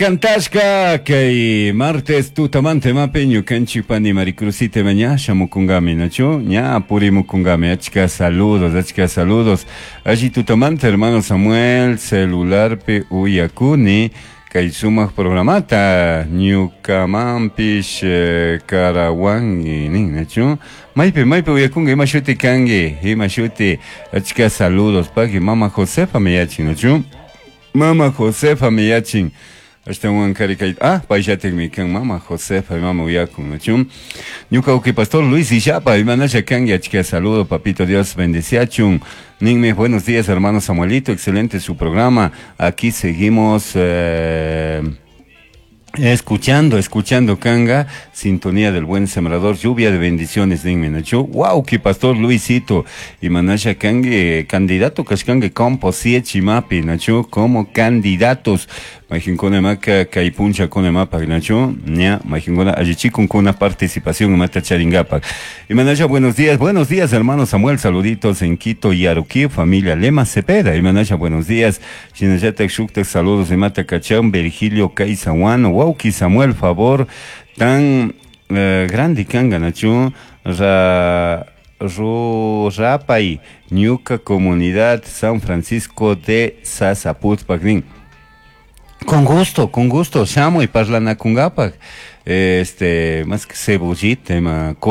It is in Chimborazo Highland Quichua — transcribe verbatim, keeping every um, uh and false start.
Cantashka kay martes tutamante mape ñukanchik pani Maricruzita ña shamukungami nachu ña purimukungami achka saludos achka saludos alli tutamante hermano Samuel celularpi uyakuni kay sumak programata ñukamanpish eh, karawangi nin nachu maypi maypi uyakunga ima shuti kanki ima shuti achka saludos paki mama Josefa miyachin nachu Mama Josefa miyachin ashtawan kari kay ah payllatikmi kan mama Josefa mama uyakun nachu ñuka uki pastor Luis Illapa imanasha kanki achka saludo papito Dios bendeciachun ninmi buenos días hermano Samuelito excelente su programa aquí seguimos eh, Escuchando, escuchando Kanga, sintonía del buen sembrador, lluvia de bendiciones, ninmi nachu. Wow, que pastor Luisito y manasha kangue, candidato kashkangue compo mapi nachu, como candidatos. Majinkuna maka kay puncha kuna mapa nachu, ña, majinkuna allichikun kuna participación mata charingapak. Y manasha, buenos días, buenos días, hermano Samuel, saluditos en Quito y Aruquí, familia Lema Cepeda. Y manasha, buenos días. Shinallatak shuktak saludos de mata kachan, Virgilio Kaisawan, wauki Samuel, favor, tan eh, grande kanga nachu, ra, ru, rapay, ñuka comunidad San Francisco de Sasaputpak nin. Con gusto, con gusto, shamuy parlanakungapak. Este, más que cebollita, ma